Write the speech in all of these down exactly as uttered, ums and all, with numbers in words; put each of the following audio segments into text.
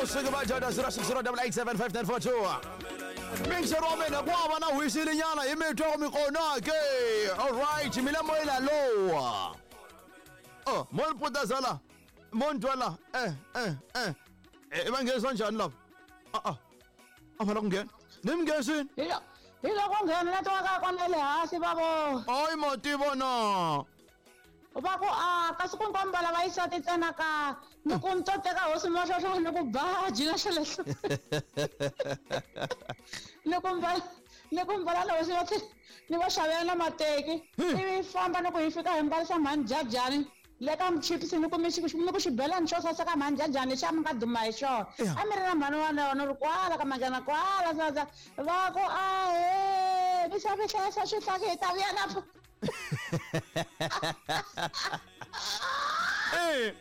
suki va joda zero six zero double eight seven five nine four two. Mixer wa mina ku hava na hwisilinyana hi mitwa ku mi kona ke. All right, mina moyela lowa. Oh, mo ni putazala. Mo ni twala. Eh, eh, eh. Eh, va nghenisa njhani lava? Ah ah. A va la ku nghena. Ni mi nghenisini? Hi lo hi loko nghena na twaka kona le hansi va vo. Hayi ma tiva na. Va ku a kasi ku nkombala va yisa titsena ka ni ku ni to teka hosi mahlohlo ni ku baji na xo lexo. Ni ku mbala ni ku mbala la hosi va ni va xavela na mateki ivi famba ni ku hi fika hi mbarisa mhani jajani le ka michipisi ni ku mi ni ku xibelani xo saseka mhani jajani xa mi nga duma hi xona a mi ri na mhani wa yona ri kwala ka manjana kwala sasa va ku ahe mi xave hlayisa swihlaki hi ta vuya na Eh.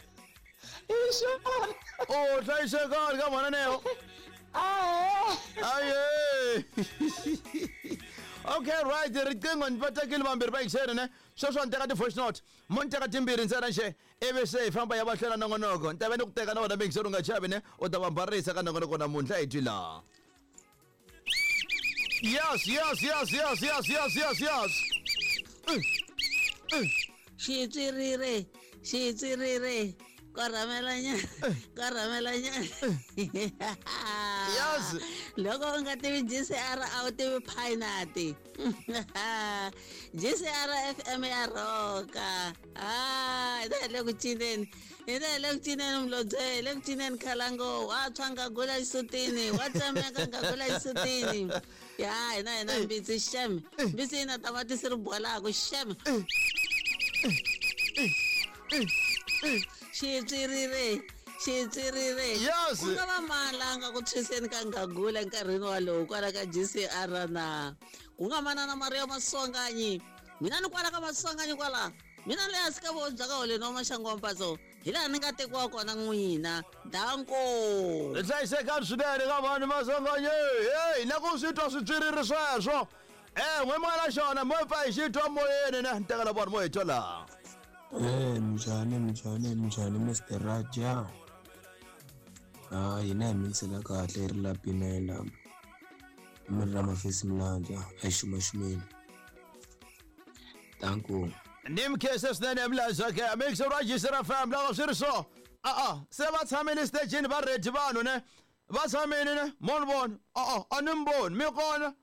Hi xona. Oh, hlayisekani ka mhana Neo. Ahe. Aye. Okay, right, riqingho ni va tekile vambirhi va yingiseri ne. Sweswo ni teka ti-voice note. Mo ni teka timbirhi ntsena nje ivi se hi famba ya va hlela nongonoko. Ni ta va ni ku teka na wena muyingiseri u nga chavi ne, u ta va mbarisa ka nongonoko namuntlha hi twi laha. Yes, yes, yes, yes, yes, yes, yes, yes. Xitswiriri, xitswiriri, korhamelanyana, korhamelanyana. Yes. Loko u nga tivi G C R a wu tivi Phainati. G C R F M ya rhoka. Ah, hi ta hi le ku cineni. Hi ta hi le ku cineni Mlobye, hi le ku cineni Khalango, wa tshwa ngagula xisutini, wa tsemeka ngagula xisutini. Ya, hina hina mbitsi xem. Mbitsi yi na tamatisi ri bolaku xem. Xitswiriri, xitswiriri. Yes. Ku nga va malanga ku tshwiseni ka ngagula enkarhini walowu kwala ka G C R na. Ku nga manana Maria Maswanganyi. Mina ni kwala ka Maswanganyi kwala. Mina le hansi ka voho bya ka holeni wa maxangu wa mpatso. Hi laha ni nga tekiwa kona n'wina. Danko. Hlayisekani swinene ka vanhu Maswanganyi. Hey, na ku swi twa switswiriri sweswo. Eh, n'we mwana xona mo pfa hi xi twa moyeni ne. Ni tekela vanhu mo hi twa laha. Eh, minjhani minjhani minjhani Mister Raja. Ah, hina hi mixela kahle ri la pimela. Mi ri ra mafesi milandza a hi xumaxumeni. Danko. Ni mi khensa swinene Mlandza ke. Mixer wa G C R F M loko swi ri so. Ah ah, se va tshamile stagini va ready vanhu ne. Va tshamile ne. Mo ni vona. Ah ah, a ni mi voni. Mi kona.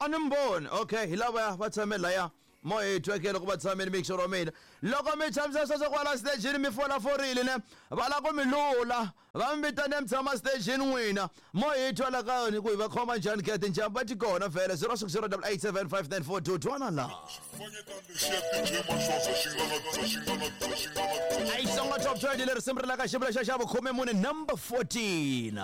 A ni mi voni. Okay, hi lava va tshame laya. Mo hi tweke loko va tshamile mixer wa mina. Loko mi tshamisa sweswo kwala stagini mi fola forile ne. Va la ku mi lula. Va mi vitane mi tshama stagini n'wina. Mo hi twa la ka yona ku hi va khoma njhani ke tinjhamba ti kona vhele zero six zero double eight seven five nine four two twana la. Ai songa top twenty leri risimu ri la ka xivula xa xa vukhume mune number fourteen.